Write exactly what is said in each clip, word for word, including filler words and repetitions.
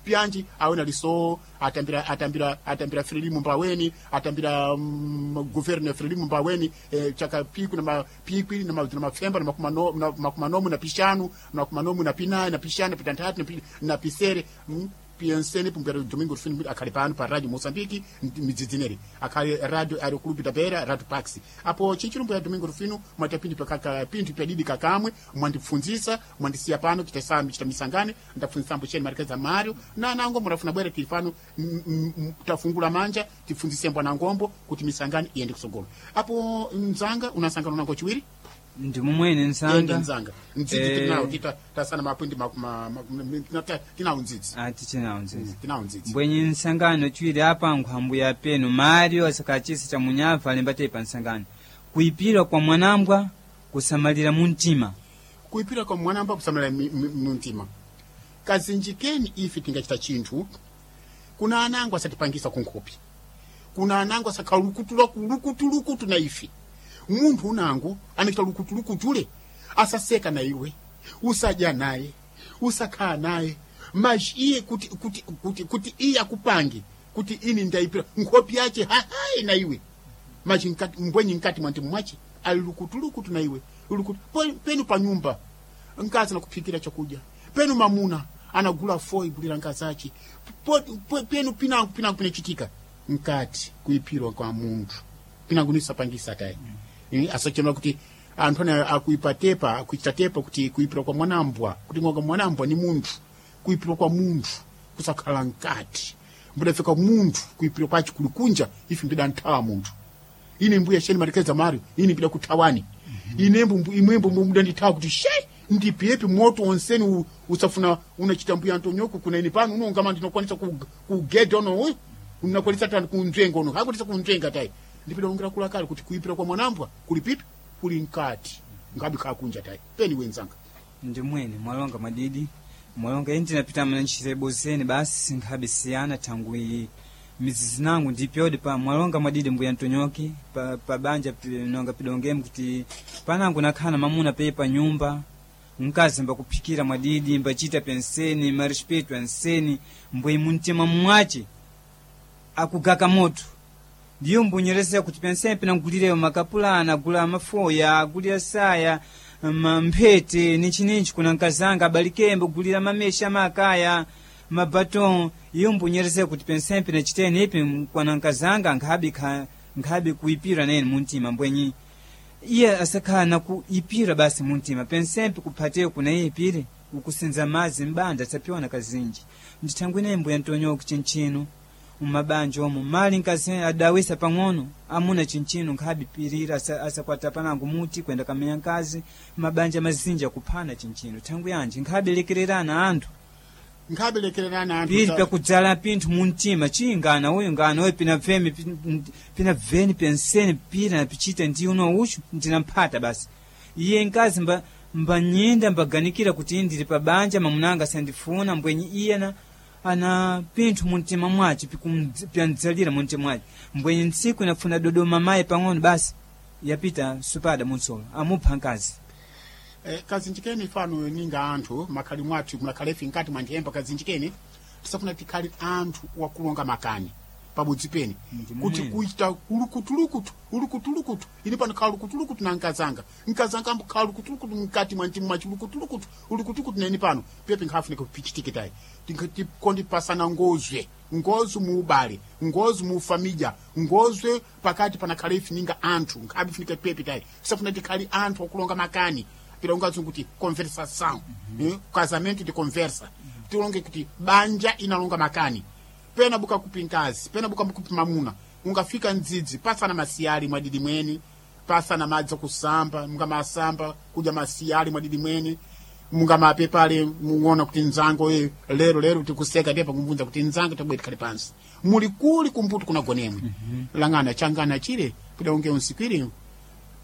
Pyanji awena liso atambira atambira atambira Frelimo mbaweni atambira mm, governo ya Frelimo mbaweni eh, chaka piku na mapikwi na ma- na mafemba na makumano na makumanomu na pishanu na makumanomu na pinayi na pishanu na pitanthatu na pi- na pisere mm, piensene pumbera Domingo Rufino akhali pano pa Radio Mozambique midzidzineri akhali radio ari clube da Beira Radio Pax apo chichilumbu ya Domingo Rufino mwatapindi pakaka pinthu pyadidi kakamwe mwandipfundzisa mwandisiya pano chitasami chitamisangane ndapfundzisambo cheni marikeza Mario na nango murafuna bwere tili pano mm, mm, mm, tafungula manja tipfundzise mbwana ngombo kuti misangane iyende kusogolo apo mzanga unasangana nango chiwiri ndi mumwene ende nsanga mzanga mdzidzi Eh. tinawo tita tasana mapwindi ma- ma- ma- ma- tinawo mdzidzi ati chinawo nzizi tinawo mdzidzi mbwenye nsangano chiwiri apa nkhwambu ya penu Mario asakachisi cha munyava alemba pa nsangano kuipira kwa mwanambwa kusamalira muntima kuipira kwa mwanamba kusamala mi- mi- mumtima kazinjikeni ife tingachita chinthu kuna anango asatipangisa kunkhopi kuna anango asakhala lukutulukutu na ife munthu unango anachita lukutulukutule asaseka na iwe usadya naye usakhala naye maji iye kuti kuti kuti kuti iye akupange kuti ini ndaipira nkhopi yache hahayi na iwe machi nkati mbwenyi nkati mwa ntimu mwache ali lukutulukutu na iwe lukutu Po- penu pa nyumba nkazi anakuphikira chakudya penu mamuna anagula foi gulira nkazi ache Po- po- penu pinango pinango pinachitika nkati kuipirwa kwa munthu pinango nisapangisa tayi mm. asachema kuti anthu ana akuipa tepa akuichita tepa kuti kuipirwa kwa mwanambwa kuti ngoka mwanambwa ni munthu kuipirwa kwa munthu kusakhala nkati mbudafika munthu kuipirwa kwachi kulikunja ife mbida nthawa munthu ine mbuya sheni marekeza Mario ine mbida kuthawani ine mbu imwembo mbuda ndithawa kuti she ndipiyepi moto onseni u- usafuna unachita mbuya Antonyoko kuna ine pano unongama ndinokwanisa ku- kugeda uno uyu unakwanisa tani kunzvenga uno hakwanisa kunzvenga tayi ndipida ungira kulakali kuti kuipira kwa mwanambwa kuli pipi kuli nkati ngabi khakunja tayi peni wenzanga ndi mwene mwalonga mwadidi mwalonga ine ndinapita mana ntchito zeni basi nkhabe siyana thangwi mizizi nangu ndipyodi pa mwalonga mwadidi mbuya ntonyoki pa, pa banja pi- nonga pidongemu kuti panangu nakhala mamuna peye pa nyumba mkazi mbakuphikira mwadidi mbachita penseni marespeto anseni mbwe muntima mwace akugaka moto ndiyo mbunyeresa kuti penseni pinangulireyo makapulana agula mafoya agulira saya ma- mphete ninchininchi kuna nkazanga abalikembe gulira mamesha makaya mabaton iyo mbunyeresa kuti penseni pinachiteni ipi kwana nkazanga nkhabi kha- nkhabi kuipira nene muntima mbwenyi iye asakhala nakuipira basi muntima pensempe kuphateyo kuna iye ipire ukusenza madzi mbanda asapiwana kazinji ndithangwi naye mbuya ntonyoku chinchino mumabanja omo mali nkazi adawisa pang'ono amuna chinchino nkhabipirira asa- asakwata panango muti kwenda kamenya nkazi mabanja mazinji akuphana chinchino thangwi yanji nkhabelekererana anthu nkhabelekererana anthu pili sa- pakudzala pinthu muntima chingana uyu ngana uyu pina vemi pin- pina veni penseni pira napichita ndi uno uchu ndinamphata basi iye nkazi mba mbanyinda mbaganikira kuti ndili pa banja mamunanga sandifuna mbwenyi iye na ana pinthu muntima mwace pikumdz- pyandzalira muntima mwace mbwenyi ntsiku inafuna dodoma mayi pang'ono basi yapita supada munsolo amupha nkazi Eh, kazinjikeni fano ninga anthu makhali mwathu munakhalefi nkati mwanthemba kazinjikeni tisafuna tikhale anthu wakulonga makani pabudzi peni Ndi kuti mumwene. kuita ulukutulukutu ulukutulukutu ini pano khala lukutulukutu na nkazanga nkazanga ambukhala lukutulukutu mkati mwa mtima mwachi ulukutulukutu ulukutulukutu neni pano pepe nkhafunika kupichitike tayi tikondipasana ngozwe ngozwe muubale ngozwe muufamilya ngozwe pakati panakhale ife ninga anthu nkhabifunika pepe tayi tisafuna tikhale anthu akulonga makani pilonga kuti conversação mm -hmm. eh, casamento de conversa tilonge kuti banja inalonga makani pena buka kupi nkazi pena buka kupi mamuna ungafika mdzidzi pasana masiyali mwadidi mweni pasana madzi akusamba mungamasamba kudya masiyali mwadidi mweni mungamapepale muona kuti nzango eh, lero lero tikuseka ndipo kumvunza kuti nzango tabweti khale pansi muli kuli kumbuto kuna gonemwe mm -hmm. langana changana chile pida unge unsikwire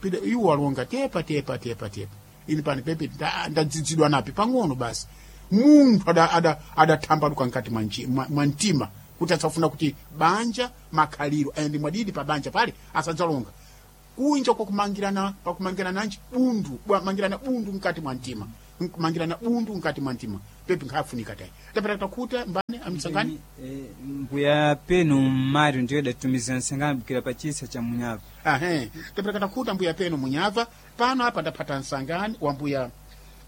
pida iwo alonga tepa tepa tepa tepa ini pani pepe nda- ndadzidzidwa napi pang'ono basi munthu adathambaluka ada, ada nkati mwa nchi- mwa mwa mtima kuti asafuna kuti banja makhaliro ayende mwadidi pa banja pale asadzalonga kunja kwakumangirana pakumangirana nanji bundu bwamangirana bundu mkati mwa mtima Nkumangirana bundu nkati mwa ntima pepi nkhafunika tayi tapata takuta mbane amsangani. Eh, mbuya penu Mário ndiyo datumiza nsangani bukira pa chisa cha Munyava. Ahe, tapata takuta mbuya penu Munyava pano apa ndapata nsangani wa mbuya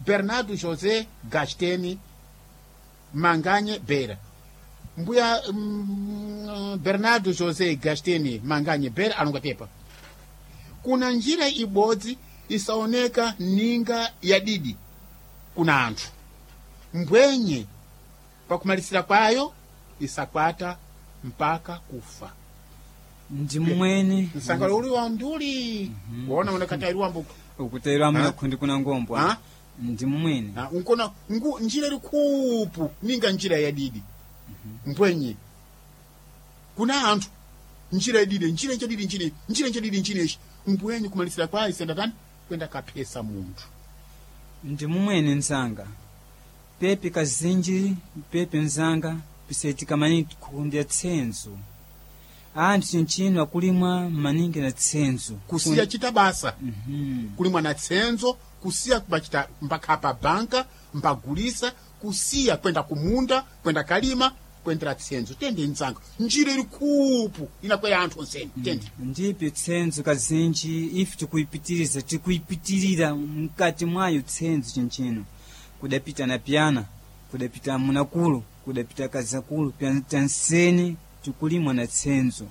Bernardo José Gasteni Manganye Bera. Mbuya mm, Bernardo José Gasteni Manganye Bera alonga tepa kuna njira ibodzi isaoneka ninga ya didi kuna anthu mbwenye pakumalisira kwayo isakwata mpaka kufa. Ndi mmwene Msangalo uli wa nduli waona unakatairiwa mbuku ukutairwa Ha? kundi kuna ngombwa. Ha? Ndi mmwene Na, unkona ngu njira iri kupu ninga njira ya didi mbwenye kuna anthu njira yadidi njira njadidi njira njira njadidi njira ichi mbwenye kumalisira kwayo isenda tani kwenda kaphesa munthu. Ndi mumwene nzanga pepi kazinji pepi nzanga pisaitika maningi kundya tsenzo anthu chinchino akulimwa maningi na tsenzo Kusiya chita basa Mhm. kulimwa na tsenzo kusiya kubachita mbakhapa banka mbagulisa kusiya kwenda kumunda kwenda kalima kwendera tsenzo tende nzanga njira iri kupu inakwera anthu onseni tende. Ndipi tsenzo kazinji ife tikuipitiriza tikuipitirira mkati mwayo tsenzo chinchino kudapita na pyana kudapita munakulu kudapita kazakulu tanseni tikulimwa na tsenzo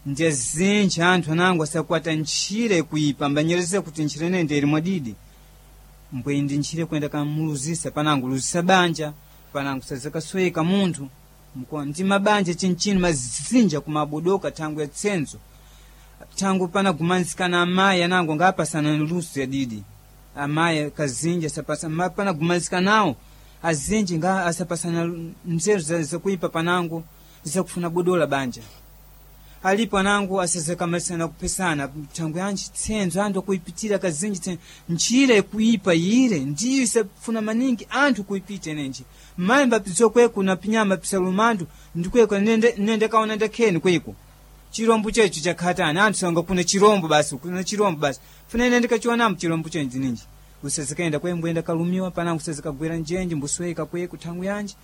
ndiye zinji anthu anango asakwata ntchire kuipa mbanyereza kuti ntchire nende ili mwadidi mbwe ndi ntchire kuyenda kamuluzisa panango luzisa banja panango sazakasweka munthu mko ndi mabanja chinchino mazinja kumabodoka thangu ya tsenzo thangu panagumanizikana amayi anango ngapasana luso ya didi amayi kazinji asapasa ma- panagumanizikanawo azinji nga asapasana nzeru za- zakuipa panango zakufuna bodola banja alipo anango asazakamalisana kupesana thangu yanji tsenzo anthu akuipitira kazinji tsenzo njira ikuipa ire ndiyo isafuna maningi anthu kuipita inenji mayi mbapizo kweku na pinyama pisalumandu ndikweko nende, nende kaona ndakheni kweko chirombo checho chakhatani anthu sanga kuna chirombo basi kuna chirombo basi funa ine ndikachionamu chirombo chenji ninji usazikaenda kwembwenda kalumiwa panango usazikagwera njenji mbusweka kweku thangu yanji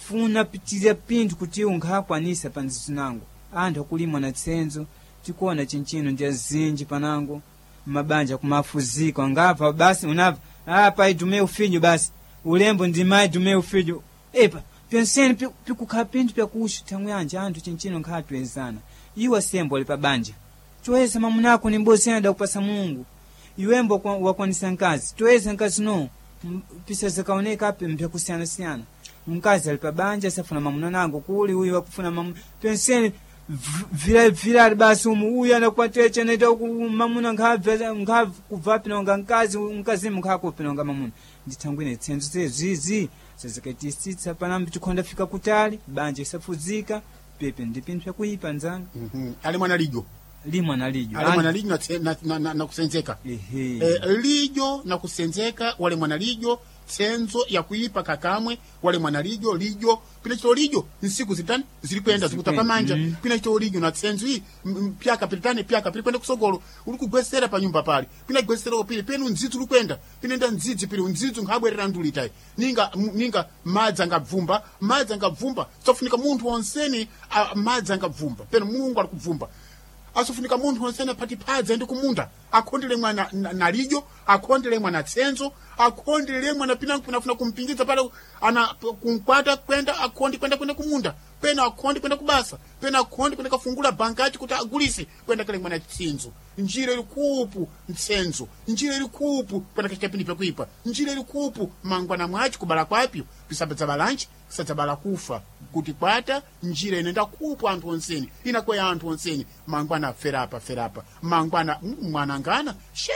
funa pitira pinthu kuti unkhakwanisa pa nzinango anthu akulimwa na tsenzo tikuona chinchino ndi azinji panango mabanja kumafuzika ngapha basi unapha ah pai dume ufinyo basi ulembo ndi mai dume ufinyo epa penseni pikukhala pinthu pyakuxu thangu yanje anthu chinchino nkhatwezana iwe sembo ali pa banja toyesa mamunako ni mbozi ena dakupasa Mulungu iwembo kwa- wakwanisa nkazi toyesa nkazi no M- pisa zikaoneka api mpyakusiyanasiyana mkazi ali pa banja safuna mamuna nango kuli uyu wakufuna mamuna penseni vilavilali basi umu uyu anakwatece naita mamuna nkhabva pinonga nkazi mkazimu nkhakupinonga mamuna ndithangwine tsenzo zezizi zazikaitisitsa panambi tikhonda fika kutali banja isafuzika pepe ndi pinthu pyakuipa nzanga. Mhm. Ali mwana lijo Limwa na lijo ali mwana lijo na, tse- na, na, na, na kusenzeka. Ehe. Eh, lijo na kusenzeka wale mwana lijo tsenzo yakuipa kakamwe wale mwana lijo lijo pina chito lijo nsiku zitani zili kwenda zikutapa manja. Mm. Pina chito lijo na tsenzo iyi m- m- pyaka pilitani pyaka pili kwenda kusogolo uli kugwesera pa nyumba pali pina gwesera pili penu ndzidzi uli kwenda pinenda ndzidzi pili ndzidzi nkhabwerera ndulitayi ninga m- ninga madzi angabvumba madzi angabvumba sofunika munthu wonseni a- madzi angabvumba penu Mulungu ali kubvumba asofunika munthu wonsene aphati phadzi aende kumunda akhondele mwana na, na lijo akhondele mwana tsenzo akhondele mwana pinango pinafuna kumpingidza pale ana kunkwata kwenda akhondi kwenda kwenda kumunda pena akhondi kwenda kubasa pena akhondi kwenda kafungula bankachi kuti agulise kwenda kale mwana tsenzo njira iri kupu ntsenzo njira iri kupu kwenda kachita pindi pyakuipa njira iri kupu mangwana mwachi kubala kwapyo pisabadza lanchi sadzabala kufa kuti kwata njira inenda kupu anthu onseni inakweya anthu onseni mangwana ferapa ferapa mangwana mm, mwana ngana she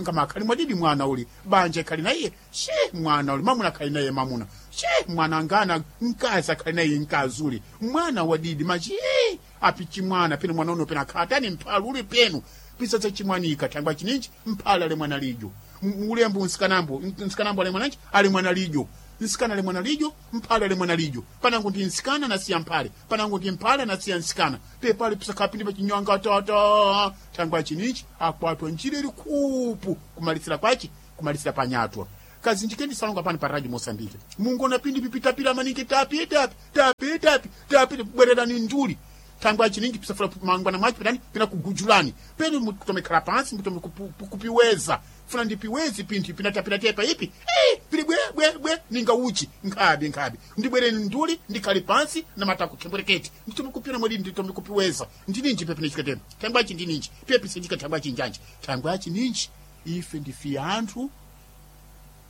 ngamakhali mwadidi mwana uli banja ikhali na iye she mwana uli mamuna akhali naye mamuna she mwana ngana mkazi akhali naye mkazi uli mwana wadidi machi "Eh, api chimwana penu mwana uno pena akhatani mphalu uli penu pisatsa chimwanika thangwa chininji mphala ale mwana lijo M- ulembo nsikanambo nsikanambo ale mwananji ale mwana lijo nsikana ale mwana lijo mphale ale mwana lijo panango ndi nsikana nasiya mphale panango ndi mphale nasiya nsikana pepale pisakapindi pachinywanga tata thangwa chininji akwatwa njira ili kupu kumalisira kwachi kumalisira panyatwa Kazinjikeni salonga pano pa Radio Mosambike. Mungona pindi pipitapira maningi tapi tapi tapi tapi tapi bwererani nduli. Tangwa chiningi pisafura mangwana mwachi pitani pina kugujulani. Penu mukutomekhala pansi mutome kupu- kupiweza. Funa ndipiwezi pinthu pinatapira tepa ipi. Eh, pili bwe bwe bwe ninga uchi nkhabi nkhabi. Ndibwereni nduli ndikhale pansi na matako khembwereketi. Nditome kupira mwedi nditome kupiweza. Ndininji pepe nichikatema. Tangwa chi ndininji. Pepe sinjika tangwa chinjanji. Tangwa chininji. Ife ndife anthu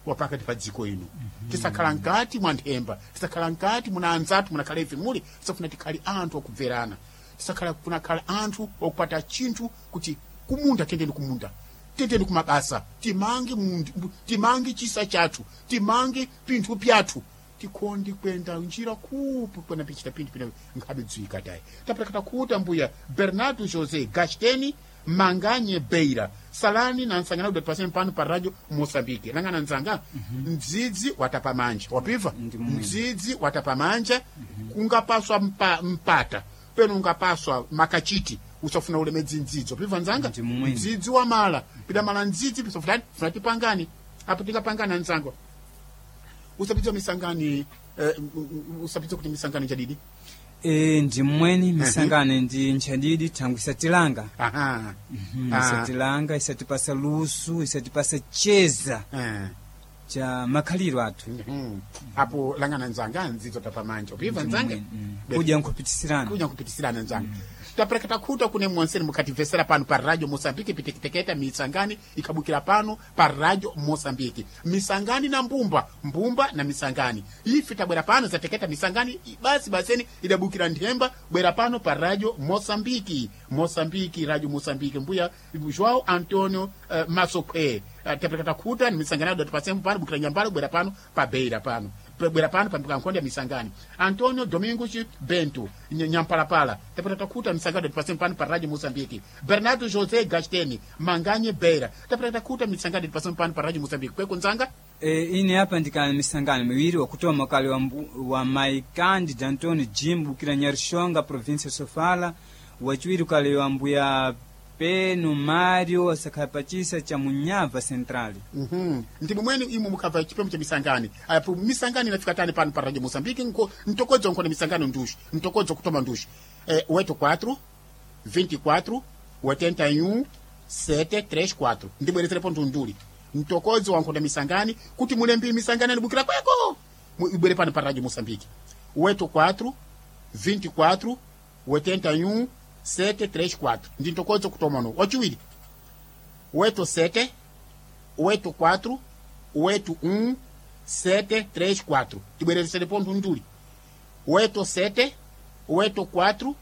wapakati pa dziko ino. Tisakhala nkati mwa nthemba, tisakhala nkati muna anzathu munakhala ife muli, tisafuna tikhale anthu okubverana, tisakhala kunakhala anthu okupata chinthu kuti kumunda tendeni kumunda, tendeni kumabasa, timange mundu, timange chisa chathu, timange pinthu pyathu, tikondi kwenda njira kupu kwena pichita pinthu pina nkhabe dzwika tayi. Tapelekata kuta mbuya Bernardo José Gasteni Manganye Beira salani na nsangana udati paseni pano pa Radio Mosambike. Langana nzanga mdzidzi watapa manja wapiva Ndi mwini. mdzidzi watapa manja kungapaswa mpa, mpata peno ungapaswa makachiti usafuna ulemedzi mdzidzi wapiva nzanga Ndi mwini. mdzidzi wamala pidamala mdzidzi pisofutani funa tipangani apo tingapangana nzanga usapitsa misangani eh, usapitsa kuti misangani chadidi E, ndi mmweni misangano ndi nchadidi thangwi isatilanga. Aha. Mhm, Ah. isatilanga isatipasa lusu, isatipasa cheza Eh. cha makhaliro athu. Mhm. Apo langana nzanga nzidzo tapamanja upiva nzanga. Mm. Be- Kudya nkhupitisirana. Kuja nkupitisirana nzanga. Tapelekata khuta kune mwonseni mukhatimvesera pano pa Radio Mosambike pitekiteketa misangani ikabukira pano pa Radio Mosambike misangani na mbumba mbumba na misangani ife tabwera pano zateketa misangani i- basi baseni idabukira nthemba bwera pano pa Radio Mosambiki Mosambiki Radio Mosambike mbuya João Antonio uh, Masokhwe uh, tapelekata khuta ni misangani adati pasemu pano bukira nyambalo bwera pano pa Beira pano bwera pano pambuka nkhonde ya misangani Antonio Domingos Bento Ny- Nyampalapala tapata takuta misangano dati pano pa Radio Mozambique Bernardo José Gasteni Manganye Beira tapata takuta misangano dati pano pa Radio Mozambique kweko nzanga. E, ine apa ndikali misangano miwiri wakutoma kale wa, mbu- wa mai Candida Antonio Jim bukira Nyarishonga província ya Sofala, wachiwiri kale wa mbuya Peno Mario asakhala pachisa cha Munyava Central. Mhm. Ndi mumweni imwe mukabva chipemo cha misangani apo misangani inafika tani pano pa Radio Mozambique nko ntokodzo nkhona misangano nduxi ntokodzo kutoma nduxi eh, oito quatro vinte e quatro oitenta e um sete três quatro ndibwerezerepo ndunduli mtokodzo wankhonda misangani kuti mulembi misangani anibukira kweko Mu- ibwere pano pa Radio Mozambique oito quatro vinte e quatro oitenta e um sete três quatro ndi ntokodzo kutoma no wachiwiri oito sete oito quatro oito um sete três quatro tibwerezesere ponto nduli oito sete oito quatro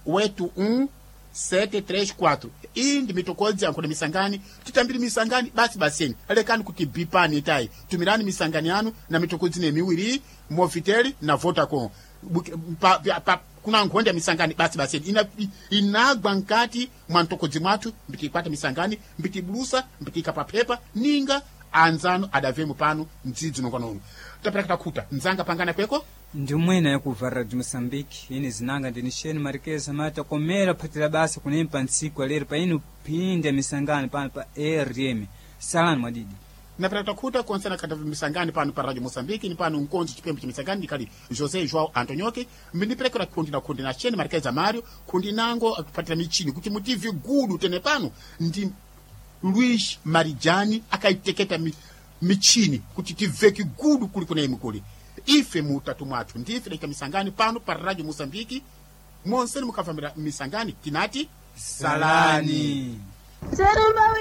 oito um sete três quatro iyi ndi mitokodzi yankhona misangani titambiri misangani basi baseni alekani kuti bipani itayi tumirani misangani yanu na mitokodzi ne miwiri Movitel na Vodacom Buki- pa, pa, pa, kuna nkhonde ya misangani basi baseni Ina, inagwa nkati mwa mtokodzi mwathu mbitikwata misangani mbitibulusa mbitika paphepa ninga anzanu adavemu pano mdzidzi nonganono tapera kutakuta nzanga pangana kweko. Ndi mwene yakuva Radio Mosambike ine zinanga ndini Sheni Marikeza mata komera phatira basa kunempa ntsiku alero pa inu phinde misangano pano pa R M salani mwadidi. Napera kutakuta konsena kata misangani pano pa Radio Mosambike ni pano nkonzi chipembe cha misangani ndikali José João Antonioke mbindiperekera kundi na kundi na Sheni Marikeza Mario kundi nango akupatira michini kuti mutive gudu tene pano ndi Luis Marijani akaiteketa mi, michini kuti tiveke gudu kuli kuna imwe kuli ife mutatu mwathu ndife daika misangani pano pa Radio Mosambike monseni mukavambira misangani tinati salani. Salani. Serumba.